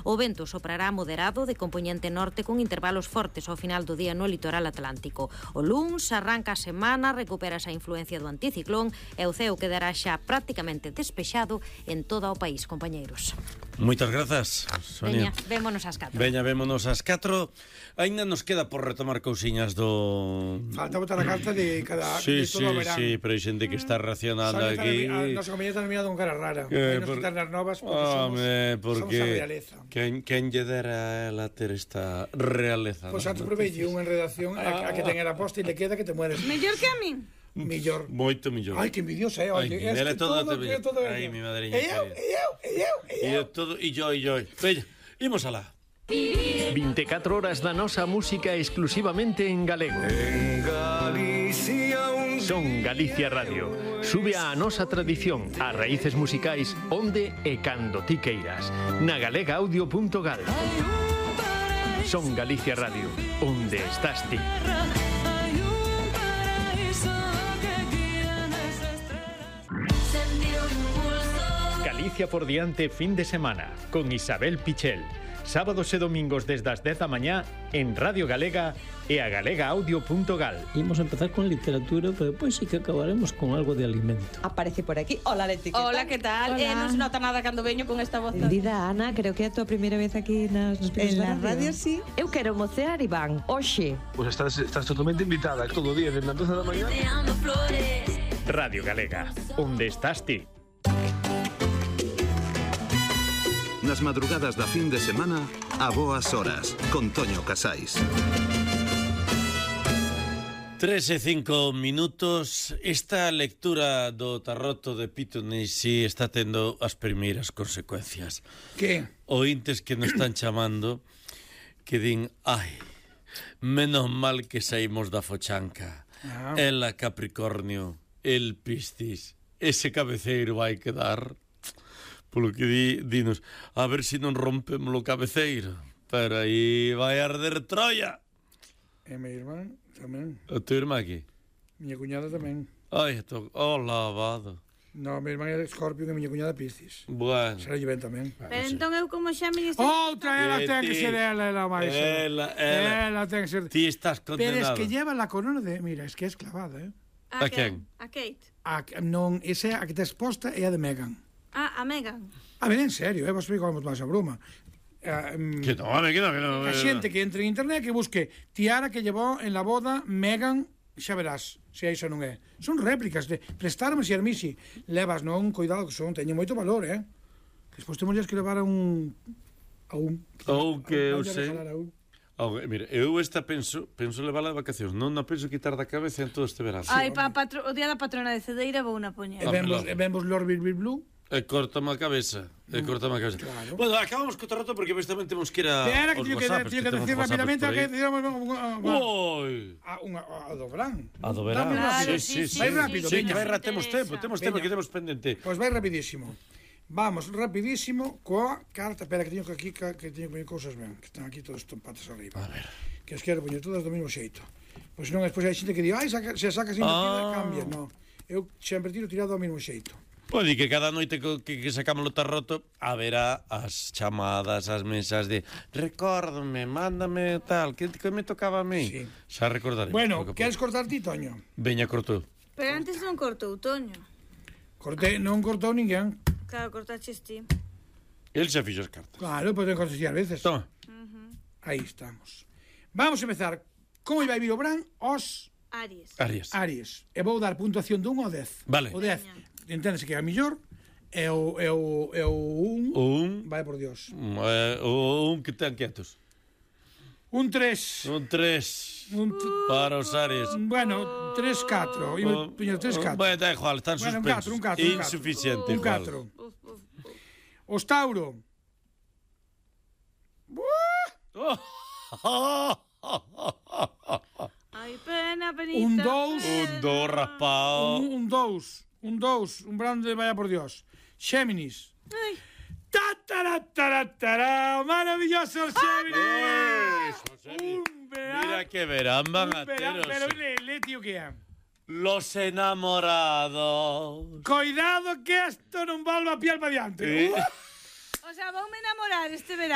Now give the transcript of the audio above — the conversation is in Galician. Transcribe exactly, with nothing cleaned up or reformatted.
O vento soprará moderado de compoñente norte con intervalos fortes ao final do día no litoral atlántico. O luns arranca a semana, recupera esa influencia do anticiclón e o ceo quedará xa prácticamente despexado en todo o país, compañeiros. Moitas grazas, Sonia. Veña, vémonos ás catro. Veña, vémonos ás catro. Ainda nos queda por retomar cousiñas do... Falta botar a carta de cada sí, de todo sí, o verán. Sí, pero hai xente que está reaccionando Sabe, aquí. A nosa compañía está mirando con cara rara. Eh, Hai nos por... quitar nas novas porque Home, somos, porque... somos a realeza. Quen, quen lle dera a ela ter esta realeza? Pois ¿no? antes provelle unha en redacción a, a que ten a posta e le queda que te mueres. Mellor que a min. Millor. Moito millor. Ai, que envidiosa, eh. Ai, Es ela que todo, todo, todo, todo, todo ai, mi madriña. E eu, e eu, e eu, e eu. E todo, e yo, e yo. Veña, imos alá. vinte e catro horas da nosa música exclusivamente en galego. En Galicia un Son Galicia Radio. Sube a nosa tradición, as raíces musicais onde e cando ti queiras. Na galega audio punto gal. Son Galicia Radio, onde estás ti. Galicia por diante fin de semana con Isabel Pichel. Sábados e domingos desde as dez da mañá en Radio Galega e a galega audio punto gal. Imos empezar con literatura, pero depois sí que acabaremos con algo de alimento. Aparece por aquí. Hola, Leti. Hola, que tal? Hola. Eh, non se nota nada cando veño con esta voz. Benvida, Ana, creo que é a tua primeira vez aquí nas, nos En la radio, sí. Eu quero mocear, Iván, hoxe. Pues estás, estás totalmente invitada todo o día, desde as doce da mañá. Radio Galega, onde estás ti. Nas madrugadas da fin de semana, a boas horas, con Toño Casais. Tres e cinco minutos. Esta lectura do tarroto de Pitonisi está tendo as primeiras consecuencias. Que? Ointes que nos están chamando que din, ai, menos mal que saímos da fochanca. Ah. Ela Capricornio, el Piscis, ese cabeceiro vai quedar... Polo que di, dinos, a ver se si non rompemos o cabeceiro. Pero aí vai arder Troia. E mi irmán tamén. A tu irmá aquí? Miña cuñada tamén. Ai, to... oh, lavado. No, mi irmán é Escorpio e miña cuñada Piscis. Bueno. Será lle ben tamén. Pero entón eu como xa me diste... Outra, ela Eh, ten que ti- ser ela, ela máis. Ela, ela. Ela ten que ser... Ti estás Pero condenado. es que lleva la corona de... Mira, es que é esclavada, eh? A quen? A Kate. A, non, esa é a que te exposta é a de Meghan. Ah, a Megan. A ver, en serio, eh, vos explico como máis a broma. Uh, um, Que no, home, que no, que no. A xente que entre en internet que busque tiara que llevou en la boda Meghan, xa verás se iso non é. Son réplicas de prestarme e Armisi. Levas, non, cuidado que son, teñen moito valor, eh. Despois temos que levar a un a un Ou que eu a un- sei. a un- Oh, mira, eu esta penso, penso levarla de vacacións, non a penso quitar da cabeza en todo este verano. Ai, pa, patro, o día da patrona de Cedeira vou na poñer. E vemos, e vemos Lord Bill Blue. E cortame a cabeza, e cortame a cabeza. Claro. Bueno, acabamos co tarroto porque tamén temos que ir a Espera, que aos teño que, WhatsApps, teño que temos decir WhatsApps rapidamente por que aí. decíamos Oi! a unha a do verán. A do verán. Dame Claro, rápido. Sí, sí, sí. Vai rápido, Sí, veña. que vai ra- temos tempo, temos tempo, Veña. que temos pendente. Pois vai rapidísimo. Vamos, rapidísimo, coa carta. Espera, que teño que aquí, que teño que poñer cousas ben, que están aquí todos patas arriba. A ver. Que as quero poñer todas do mesmo xeito. Pois non, despois hai xente que di, ai, saca, se sacas invertida, Ah. cambia. No, eu sempre tiro tirado ao mesmo xeito. Pode que cada noite que, que, que sacamos o tarroto haberá as chamadas, as mensas de recórdame, mándame tal, que, que me tocaba a mí. Sí. Xa recordaremos. Bueno, pouco a queres pouco. cortar ti, Toño? Veña, cortou. Pero antes non cortou, Toño. Cortei, non cortou ninguén. Claro, cortaches ti. El xa fixo as cartas. Claro, poden cortar a veces. Toma. Aí estamos. Vamos a empezar. Como vai vir o Bran? Os Aries. Aries. Aries. E vou dar puntuación de un ao dez. Vale. O dez, enténdese que é a mellor, e o, e o, e o un, Un, vai por Dios. eh, o un que ten quietos. Un tres. Un tres Un t- para os Aries. bueno, tres catro. Oh, tres catro. Bueno, da igual, están Bueno, un suspensos. catro, un catro, un catro. Insuficiente, Un igual. catro. Os Tauro. Ai, pena, penita. Un dous. Un do raspao. Un, un dous. Un dous. Un brande, vaya por Dios. Xéminis. Ai, ¡Ta-ta-ra-ta-ra-ta-ra! ¡Maravilloso el Géminis! Un verán. Mira que verán van a un verán, teros. pero le, le, tío, que é? Los enamorados. Cuidado que esto non volva a piel para diante. Sí. Uh, o sea, voume enamorar este verano.